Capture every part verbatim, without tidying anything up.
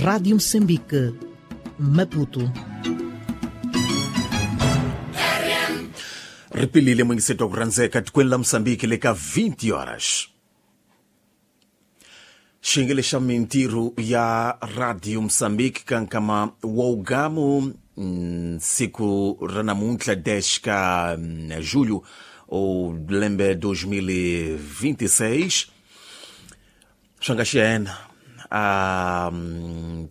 Rádio Moçambique, Maputo. Ripilile mwingiseto kuranzeka tikweni la Moçambique leka vinte horas. Xingele xa mintirho ya Radio Moçambique kankama wa siku ra namuntlha dez ka julho o lembe dois mil e vinte e seis. Swi nga xiyena a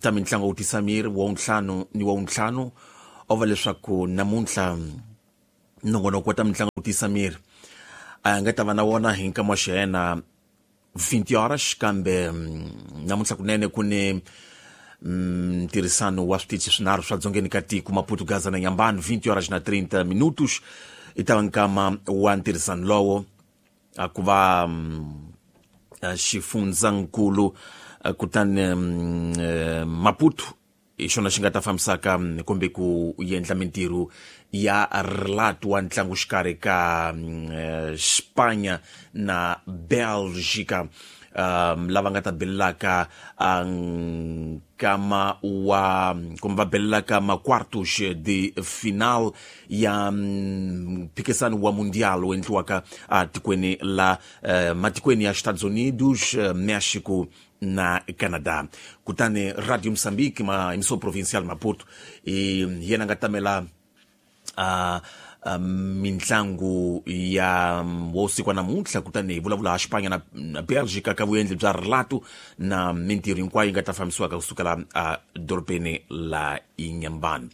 ta mintlango wu tisa miri wa ntlhanu ni wa ntlhanu o va leswaku namuntlha nongonoko wa ta mintlango wu tisa miri a nga ta va na wona hi nkama wa xiyena vinte horas kambe namuntlha kunene ku ni ntirhisano wa switichi swinharhu swa dzongeni ka tiko Maputo, Gaza na Inhambane vinte horas na trinta minutos i ta va nkama wa ntirhisano lowo a ku va xifundzankulu kutani Maputo hi xona xi nga ta fambisaka kumbe ku endla mintirho ya relato wa ntlangu xikarhi ka Espanha na Bélgica um, lava nga ta belelaka nkama wa kumbe va belelaka ma-quartos de final ya mphikisano wa mundial wu endliwaka atikweni la uh, matikweni ya Estados Unidos, México na Canadá. Kutani Radio Moçambique ma emissão provincial Maputo e yena nga tamela a uh, mintlangu ya wo siku wa namuntlha kutani hi vulavula ha Espanha na, na Bélgica ka vuendli bya relato na mintirho hinkwayo yi nga ta fambisiwaka kusukela a dorobeni la Inhambane.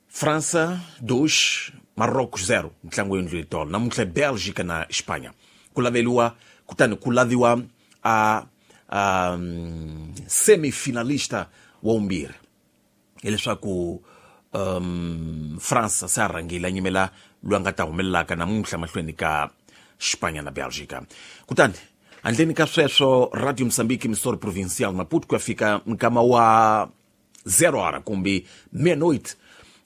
França dois, Marrocos zero, ntlangu yendliwe tolo namuntlha Bélgica na Espanha ku laveliwa kutani ku laviwa a, a semifinalista wa vumbirhi hileswaku um, França se a rhangile a nyimela loyi a nga ta humelelaka namuntlha mahlweni ka Espanha na Bélgica. Kutani handleni ka sweswo Radio Moçambique emissora provincial Maputo ku ya fika nkama wa zero hora kumbe meia-noite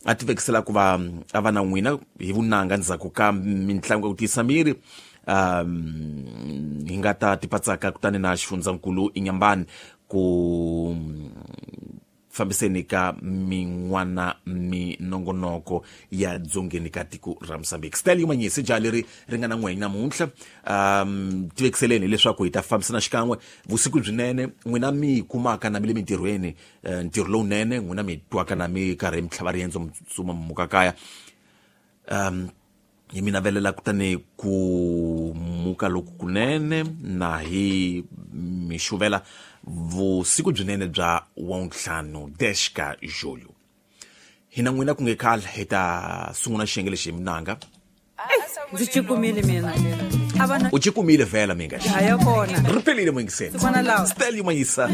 a ti vekisela ku va a va na n'wina hi vunanga ndzhaku ka mintlangu ya ku tiyisa miri um hi nga ta tipatsaka kutani na xifundzankulu Inhambane ku fambiseni ka min'wana minongonoko ya dzongeni ka tiko ra Moçambique. Stelio Manyisi jaha leri ri nga na n'we namuntlha um tivekiseleni leswaku hi ta fambisana xikan'we vusiku byinene n'wina mi kumaka na mi le mintirhweni ntirho lowunene n'wina mi twaka na mi karhi mi tlhava riendzo mi tsutsuma mi muka kaya um hi mi navelela kutani ku muka loku kunene na hi mi xuvela vusiku byinene bya wantlhanu dez ka julho. Hina n'wina ku nge khale hi ta sungula xiyenge lexi hi minanga ndzi cikumile mina u cikumile vhela minga ri pelile mwingiseni Stelio Manyisa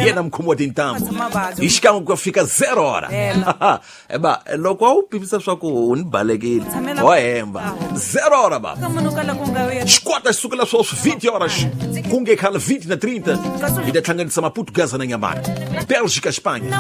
yena mukhomi wa tintambu hi xikan'we ku ya fika zero hora eba loko a wu pimisa swa ku u ni balekile ho hemba zero hora ba xikwata xi sukela sweswi vinte horas ku nge khale vinte na trinta hi ta hlanganisa Maputo, Gaza na Inhambane, Bélgica, Espanha.